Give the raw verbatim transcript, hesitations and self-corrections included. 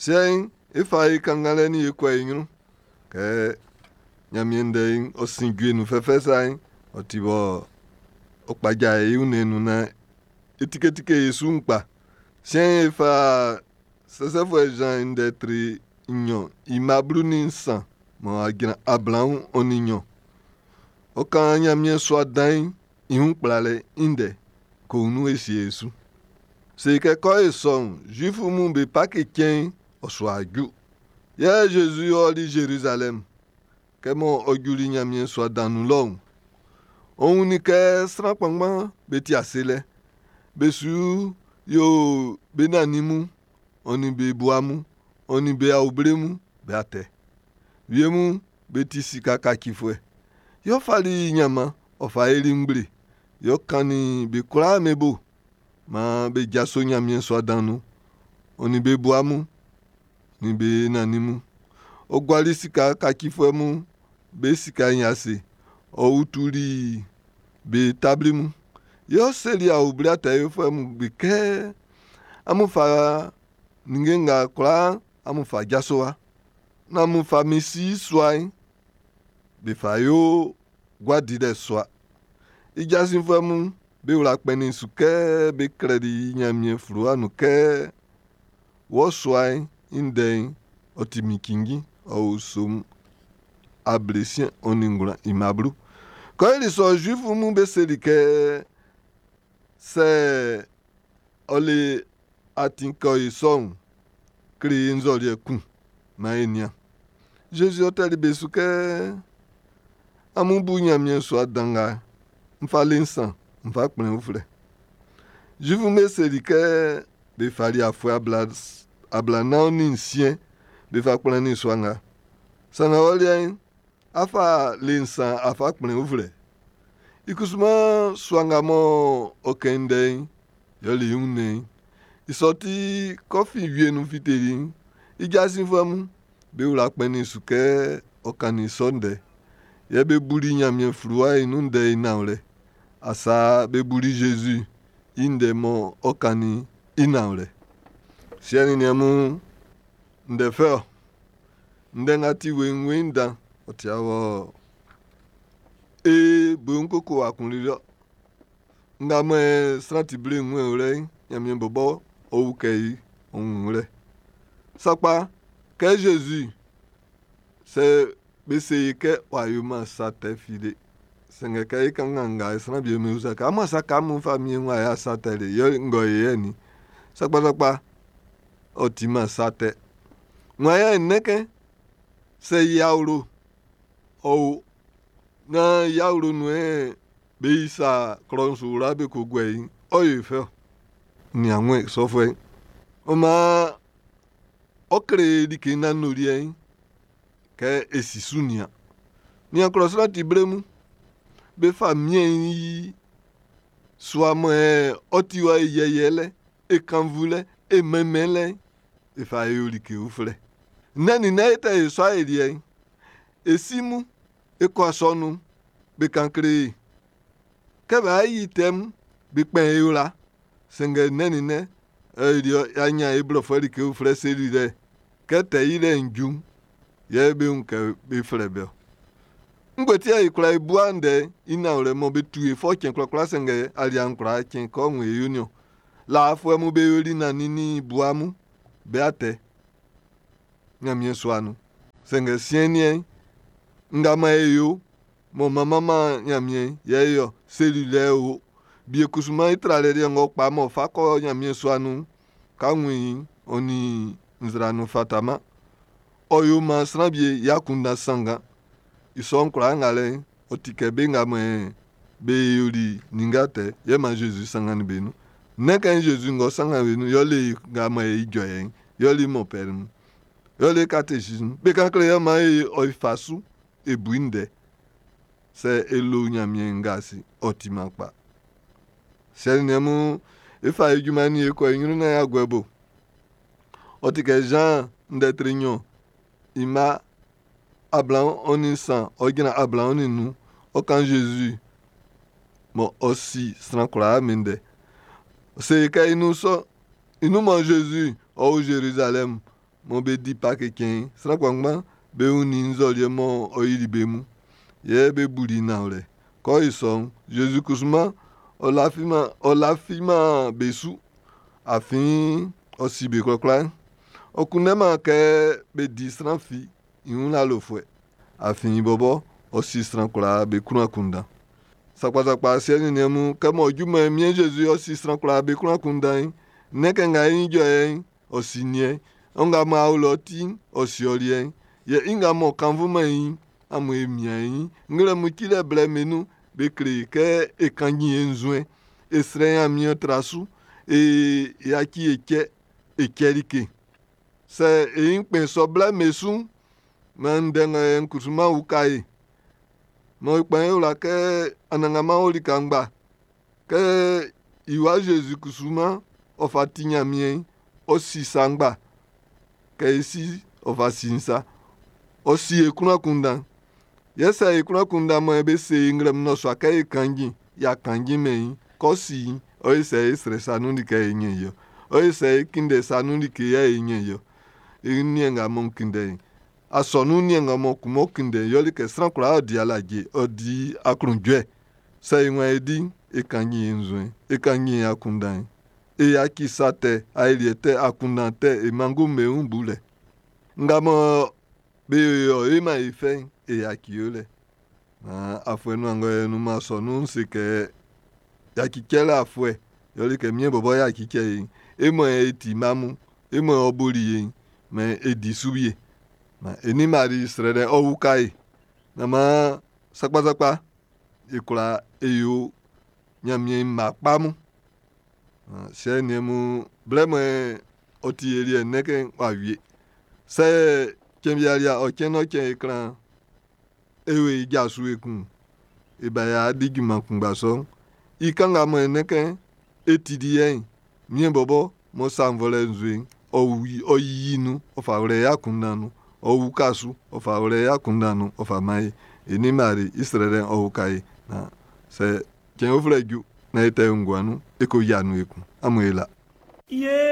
Siɛn'n, e fa e kannganlɛ'n e kɔ e ɲrun. Kɛ Ɲanmiɛn ndɛ'n ɔ sin jue nun fɛfɛ sa'n, ɔ ti bɔ ɔ kpaja e wunnɛn'n nun naan e tiketike e su'n kpa. Siɛn'n, e fa Sɛsɛfuɛ Zan i ndɛ tre nɲɔn i mma blu nin nsan mɔ a jran ablaɔn ɔ nin nɲɔn. Ɔ kan Ɲanmiɛn sua dan'n i wun kplalɛ'n i ndɛ ko wun e sie e su. Se kɛ kɔ e sɔ'n, Zuifu mun be Paki cɛn'n ɔ su a ju. Yɛ Zezi ɔli Zerizalɛm. Kɛ mɔ ɔ juli Ɲanmiɛn sua dan nun lɔ'n, ɔ wunnin kɛ sran kpanngban be ti ase lɛ. Be su yo be nannin mun, ɔ nin be bua mun, ɔ nin be auble mun be atɛ. Wie mun be ti sika kacifuɛ. Yɛ ɔ fali ɲanman, ɔ fa yili ngble. Yɛ ɔ kannin be kwlaa be bo. Maan be jaso Ɲanmiɛn sua dan nun, ɔ nin be bua mun, nin be nannin mun. Ɔ guali sika kacifuɛ mun be sika'n i ase. Ɔ utuli be tabli mun. Yɛ ɔ seli auble atɛ yofuɛ mun be kɛ, amun fa ninnge nga kwlaa amun fa jaso wa. Nán amun fa min si sua'n be fa yo gua dilɛ sua. I jasinfuɛ mun be wla kpɛnnin su kɛ be klɛli i Ɲanmiɛn fluwa nun kɛ wɔ sua'n i ndɛ'n ɔ ti min cinnjin ɔ o psaume ablesiɛn ɔ nin ngwlan i mma blu. Kɔ i li sɔ Zuifu mun be seli kɛ sɛ ɔ le atin kɛ ɔ yi sɔ'n, kle e nzɔliɛ kun maan e nian. Zezi ɔ tɛli be su kɛ amun bu Ɲanmiɛn sua dan nga n fa le nsan n fa kplɛn uflɛ. Zuifu'm be seli kɛ be fali afuɛ ablanan nin nsiɛn be fa kplannin sua nga. Sanngɛ ɔ liɛ'n, a fa le nsan a fa kplɛn uflɛ. I kusuman sua nga mɔ ɔ kɛn ndɛ'n, yɛle i wunnɛn'n. I sɔ ti kɔfi wie nun fiteli'n, i jasinfuɛ mun be wla kpɛnnin su kɛ ɔ kannin sɔ ndɛ. Yɛ be buli Ɲanmiɛn fluwa'n i nun ndɛ'n i nanwlɛ. Asa be buli Zezi i ndɛ mɔ ɔ kannin'n i nanwlɛ. Siɛ nin niɛn mun, ndɛ fɛ ɔ. Ndɛ nga ti weiinweiin dan, ɔ ti awɔ. E bo koko akun lili ɔ. Nga mɔ e sran ti ble nwɛn wlɛ'n, Ɲanmiɛn bɔbɔ ɔ ukɛ i ɔ wun wlɛ. Sakpa, kɛ Zezi sɛ be se i kɛ w'a yoman sa tɛ fi le. Sanngɛ kɛ i kanngan nga sran bi me usa kɛ amun sa ka mun famiɛn wa ya sa tɛ le yɛ ngɔ yɛ ni. Sakpa sakpa ɔ timan sa tɛ. Wan yɛ nnɛkɛ sɛ i awlo ɔ o na i awlo nun ɛ be yi sa klɔ'n su wla be ko guɛ i ɔ yɛ fɛ ɔ. Ni anwɛn sɔfuɛ. Ɔ maan ɔ kle like nanoliɛ'n kɛ e si su nian. Nian klɔ sran ti ble mun. Be fa miɛn i sua mɔ ɛ ɔ ti wa e yɛyɛlɛ, e kanvulɛ, e mɛnmɛnlɛ, e fa e yo like uflɛ. Nnɛn nin e tɛ e sɔ e liɛ'n. E si mun, e kɔ asɔnun, be kan kle e. Kɛ b'a yi tɛm, be kpɛn e wla. Sanngɛ nnɛn nin nnɛn, e liɛ y'a ɲan e blɔfuɛ like uflɛ seli lɛ. Kɛ tɛ yi lɛ'n ju, yɛ be wun kɛ be flɛ be ɔ. Ngue ti yɛ e kwla e bua ndɛ i nanwlɛ mɔ be tu e fɔ cɛn kwlakwla sanngɛ alia'n kwla cɛn kɔ wun e yo niɔn. Laafuɛ mun be yoli nannin nin bua mun be atɛ Ɲanmiɛn sua nun. Sanngɛ siɛn'n niɛn nga ma e yo mɔ manmanman Ɲanmiɛn yɛ e yɔ seli lɛ o. Bie kusuman i tralɛ liɛ ng'ɔ kpa m'ɔ fa kɔ Ɲanmiɛn sua nun'n, ka wun i ɔ nin nzra nun fataman. Ɔ yo maan sran bie i akunndan sanngan. I sɔ'n kwlaa nga lɛ'n, ɔ ti kɛ be nga mɔ be yoli ninnge atɛ yɛ man Zezi sanngannin be nun. Nnɛn kɛ Zezi ng'ɔ sanngan be nun, yɛ le nga mɔ e ijɔ yɛ'n, yɛ le mɔ pɛr mun. Yɛ le catéchisme. Be kan kle yɛ man e ɔ fa su e bu i ndɛ. Sɛ e lo Ɲanmiɛn nga si, ɔ timan kpa. Siɛ nin niɛn mun, e fa e junman'n ni e kɔ e ɲrun naan y'a guɛ bo. Ɔ ti kɛ Jean ndɛ tre nɲɔn i mma ablaɔn ɔ nin nsan ɔ jran ablaɔn nin nnun ɔ kan Zezi mɔ ɔ si sran kwlaa min ndɛ. Ɔ se kɛ i nun sɔ i nun mɔ Zezi ɔ o Zerizalɛm mɔ be di Paki cɛn'n, sran kpanngban be wunnin nzɔliɛ mɔ ɔ yili be mun. Yɛ be buli i nanwlɛ. Kɛ ɔ yo sɔ'n, Zezi kusuman ɔ lafiman, ɔ lafiman be su. Afin ɔ si be kwlakwla'n. Ɔ kunndɛman kɛ be di sran fi i wun lalofuɛ. Afin i bɔbɔ ɔ si sran kwlaa be klun akunndan. Sakpasakpa siɛ nin niɛn mun, kɛ mɔ junman miɛn Zezi ɔ si sran kwlaa be klun akunndan'n, nnɛn kɛ nga e ijɔ yɛ'n, ɔ si niɛn. Ɔ nga mɔ awlo ti'n, ɔ si ɔ liɛ'n. Yɛ i nga mɔ kannvunman i'n, amun e mian e ɲin. Nglɛmun cilɛ blɛ me nun, be kle kɛ e kanjin e nzuɛn, e srɛ Ɲanmiɛn tra su, e yaci e cɛ, e cɛ like. Sɛ e ɲin kpɛn sɔ blɛ me su'n, maan ndɛ nga yɛ'n kusuman uka e. Mɔ e kpɛn e wla kɛ Anannganman o lika ngba. Kɛ i wa Zezi kusuman ɔ fa ti Ɲanmiɛn'n, ɔ si sa ngba. Kɛ e si ɔ fa si'n sa. Ɔ si e klun akunndan. Yɛ sɛ e klun akunndan mɔ be se e nglɛmun nnɔsua kɛ e kanjin, y'a kanjin mɛn i, kɛ ɔ si i'n, ɔ ye sɛ e srɛ sa nun like e ɲɛn i ɔ. Ɔ ye sɛ e kunndɛ sa nun like yɛ e ɲɛn i ɔ. E niɛn nga mɔ kunndɛ'n, asɔnun niɛn nga mɔ kun mɔ kunndɛ'n, yɛle kɛ sran kwlaa ɔ di alaje, ɔ di aklunjuɛ. Sɛ e waan é dí'n, e kanjin e nzuɛn, e kanjin e akunndan'n. E yaci sa tɛ, aeliɛ tɛ, akunndan tɛ, e mangu'm be wun bulɛ. Nga mɔ be yo e man e fɛ'n, e yaci yolɛ. Na afuɛ nuan ngɔ yɛ nun ma asɔnun'n se kɛ yaci cɛlɛ afuɛ, yɛle kɛ miɛn bɔbɔ yaci cɛ e'n, e mɔ e ti mma mun, e mɔ ɔ boli e'n, mɛ e di su wie. Ma e ni Mari srɛlɛ ɔ uka e. Na maan sakpasakpa e kwla e yo Ɲanmiɛn mma kpa mun. Siɛ niɛn mun, blɛ mɔ ɔ ti e liɛ nnɛn w'a wie. Sɛ cɛn bialia ɔ cɛn ɔ cɛn e kran e wo i ja su ekun. E ba ya di junman kunngba sɔ'n. I kanga mɔ e nnɛn e ti di yɛ'n, miɛn bɔbɔ mɔ sa nvɔlɛ nzue'n, ɔ wi ɔ yiyi nun, ɔ fa wlɛ i akunndan nun, ɔ uka su, ɔ fa wlɛ i akunndan nun, ɔ fa man e. E ni Mari i srɛlɛ'n ɔ uka e. Na sɛ cɛn uflɛ ju na e tɛ nguan nun, e ko yia nun ekun. Amun e la. Ye